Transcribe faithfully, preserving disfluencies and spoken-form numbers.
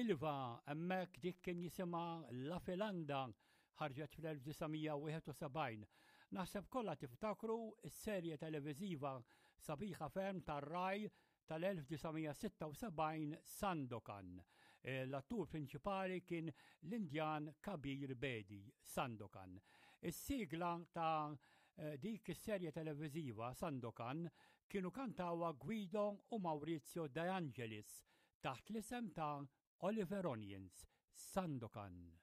Milva, hemmhekk dik kien jisimha La Filanda, ħarġet fl-elf disa' mija wieħed u sebgħin. Naħseb kollha tiftakru s-serje televiżiva sabiħa ferm tar-Rai tal-elf disa' mija sitta u sebgħin Sandokan. L-attur prinċipali kien l-Indjan Kabir Bedi, Sandokan. Is-sigla ta' dik is-serje televiżiva Sandokan kienu kantawha Guido u Maurizio De Angelis taħt l-isem ta' Oliver Onions, Sandokan.